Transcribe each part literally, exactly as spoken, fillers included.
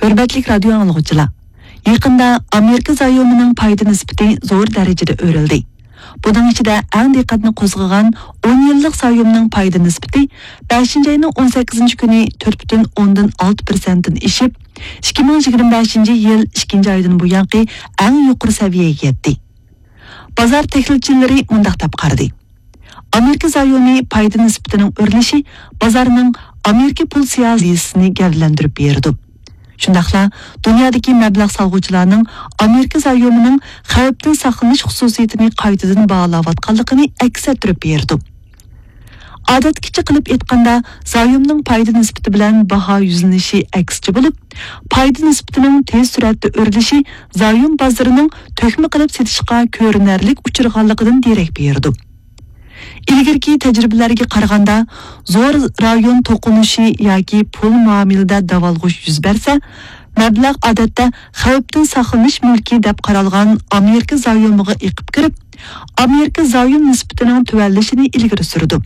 ھۆرمەتلىك رادىيو ئاڭلىغۇچىلار، يېقىندا ئامېرىكا زايومىنىڭ پايدا نىسبىتى زور دەرىجىدە ئۆرلىدى. بۇنىڭ ئىچىدە ئەڭ دىققەتنى قوزغىغان ئون يىللىق زايومنىڭ پايدا نىسبىتى بەشىنچى ئاينىڭ ئون سەككىزىنچى كۈنى تۆت پۈتۈن ئوندىن ئالتە پىرسەنتتىن ئېشىپ، ئىككى مىڭ يىگىرمە بەشىنچى يىل ئىككىنچى ئايدىن بۇيانقى ئەڭ يۇقىرى سەۋىيەگە يەتتى. بازار تەھلىلچىلىرى مۇنداق دەپ قارىدى: ئامېرىكا زايومى پايدا نىسبىتىنىڭ ئۆرلىشى بازارنىڭ ئامېرىكا پۇل سىياسىتىنى گەۋدىلەندۈرۈپ بېرىدۇ. شۇنداقلا دۇنيادىكى مەبلەغ سالغۇچىلارنىڭ ئامېرىكا زايومىنىڭ خەۋپتىن ساقلىنىش خۇسۇسىيىتىنى قايتىدىن باھالاۋاتقانلىقىنى ئەكس ئەتتۈرۈپ بېرىدۇ. ئادەتتىكىچە قىلىپ ئېيتقاندا، زايومنىڭ پايدا نىسبىتى بىلەن باھا يۈزلىنىشى ئەكسىچە بولۇپ، پايدا نىسبىتىنىڭ تېز سۈرئەتتە ئۆرلىشى زايوم بازىرىنىڭ تۆكمە قىلىپ سېتىشقا كۆرۈنەرلىك ئۇچرىغانلىقىدىن دېرەك بېرىدۇ. ئىلگىرىكى تەجرىبىلەرگە قارىغاندا، زور رايون توقۇنۇشى ياكى پۇل مۇئامىلىدە داۋالغۇش يۈز بەرسە، مەبلەغ ئادەتتە خەۋپتىن ساقلىنىش مۈلكى دەپ قارالغان ئامېرىكا زايومىغا ئېقىپ كىرىپ، ئامېرىكا زايوم نىسبىتىنىڭ تۆۋەنلىشىنى ئىلگىرى سۈرىدۇ.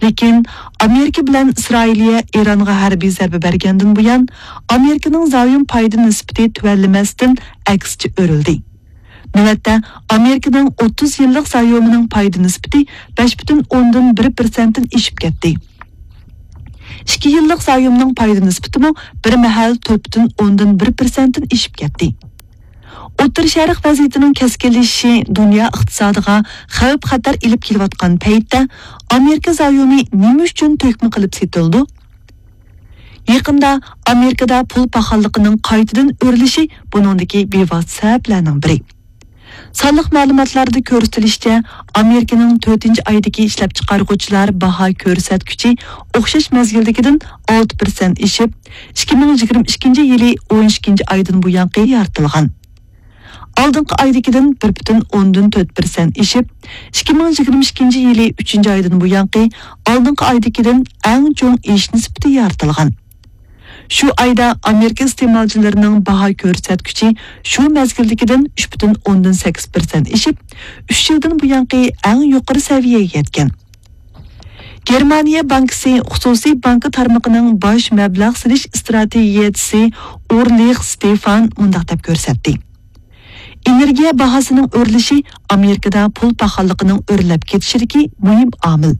لېكىن ئامېرىكا بىلەن ئىسرائىلىيە ئىرانغا ھەربىي زەربە بەرگەندىن بۇيان، ئامېرىكىنىڭ زايوم پايدا نىسبىتى تۆۋەنلىمەستىن، ئەكسىچە ئۆرلىدى. نۆۋەتتە، ئامېرىكىنىڭ ئوتتۇز يىللىق زايومىنىڭ پايدا نىسبىتى بەش پۈتۈن ئوندىن بىر پىرسەنتتىن ئېشىپ كەتتى. ئىككى يىللىق زايومنىڭ پايدا نىسبىتىمۇ بىر مەھەل تۆت پۈتۈن ئوندىن بىر پىرسەنتتىن ئېشىپ كەتتى. ئوتتۇرا شەرق ۋەزىيىتىنىڭ كەسكىنلىشىشى دۇنيا ئىقتىسادىغا خەۋپ-خەتەر ئېلىپ كېلىۋاتقان پەيتتە، ئامېرىكا زايومى نېمە ئۈچۈن تۆكمە قىلىپ سېتىلىدۇ؟ يېقىندا ئامېرىكىدا پۇل پاخاللىقىنىڭ قايتىدىن ئۆرلىشى بۇنىڭدىكى بىۋاسىتە سەۋەبلەرنىڭ بىرى. سانلىق مەلۇماتلاردا كۆرسىتىلىشىچە، ئامېرىكىنىڭ تۆتىنچى ئايدىكى ئىشلەپچىقارغۇچىلار باھا كۆرسەتكۈچى ئوخشاش مەزگىلدىكىدىن ئالتە پىرسەنت ئېشىپ، ئىككى مىڭ يىگىرمە ئىككىنچى يىلى ئون ئىككىنچى ئايدىن بۇيانقى يارىتىلغان. ئالدىنقى ئايدىكىدىن بىر پۈتۈن ئوندىن تۆت پىرسەنت ئېشىپ، ئىككى مىڭ يىگىرمە ئىككىنچى يىلى ئۈچىنچى ئايدىن بۇيانقى ئالدىنقى ئايدىكىدىن ئەڭ چوڭ ئېشىش نىسبىتى يارىتىلغان. شۇ ئايدا ئامېرىكا ئىستېمالچىلىرىنىڭ باھا كۆرسەتكۈچى شۇ مەزگىلدىكىدىن ئۈچ پۈتۈن ئوندىن سەككىز پىرسەنت ئېشىپ، ئۈچ يىلدىن بۇيانقى ئەڭ يۇقىرى سەۋىيەگە يەتكەن. گېرمانىيە بانكىسى خۇسۇسىي بانكا تارمىقىنىڭ باش مەبلەغ سېلىش ئىستراتېگىيەچىسى ئۇرلىخ ستېفان مۇنداق دەپ كۆرسەتتى: ئېنېرگىيە باھاسىنىڭ ئۆرلىشى ئامېرىكىدا پۇل پاخاللىقىنىڭ ئۆرلەپ كېتىشىدىكى مۇھىم ئامىل.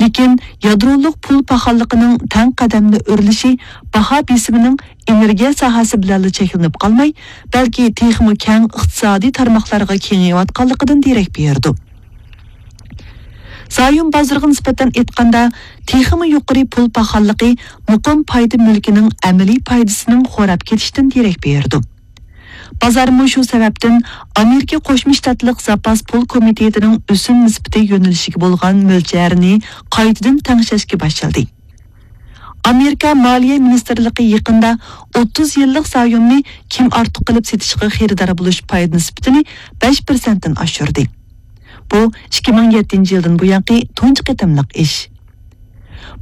لېكىن يادرولۇق پۇل پاخاللىقىنىڭ تەڭ قەدەمدە ئۆرلىشى باھا بېسىمىنىڭ ئېنېرگىيە ساھەسى بىلەنلا چەكلىنىپ قالماي، بەلكى تېخىمۇ كەڭ ئىقتىسادىي تارماقلارغا كېڭىيىۋاتقانلىقىدىن دېرەك بېرىدۇ. زايوم بازىرىغا نىسبەتەن ئېيتقاندا، تېخىمۇ يۇقىرى پۇل پاخاللىقى مۇقىم پايدا مۈلكىنىڭ ئەمەلىي پايدىسىنىڭ خوراپ كېتىشىدىن دېرەك بېرىدۇ. بازارمۇ شۇ سەۋەبتىن ئامېرىكا قوشما شتاتلىق زاپاس پۇل كومىتېتىنىڭ ئۆسۈم نىسبىتى يۆنىلىشىگە بولغان مۆلچەرنى قايتىدىن تەڭشەشكە باشلىدى. ئامېرىكا مالىيە مىنىستىرلىقى يېقىندا ئوتتۇز يىللىق زايومنى كىم ئارتۇق قىلىپ سېتىشقا خېرىدار بولۇش پايدا نىسبىتىنى بەش پىرسەنتتىن ئاشۇردى. بۇ ئىككى مىڭ يەتتىنچى يىلدىن بۇيانقى تۇنجى قېتىملىق ئىش.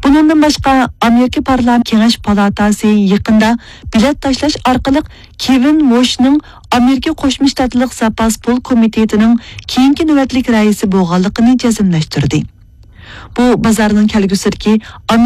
بۇنىڭدىن باشقا، ئامېرىكا پارلامېنت كېڭەش پالاتاسى يېقىندا بېلەت تاشلاش ئارقىلىق كېۋىن ۋوشنىڭ ئامېرىكا قوشما شتاتلىق زاپاس پۇل كومىتېتىنىڭ كېيىنكى نۆۋەتلىك رەئىسى بولغانلىقىنى جەزملەشتۈردى. بۇ بازارنىڭ كەلگۈسىدىكى ئامېرىكا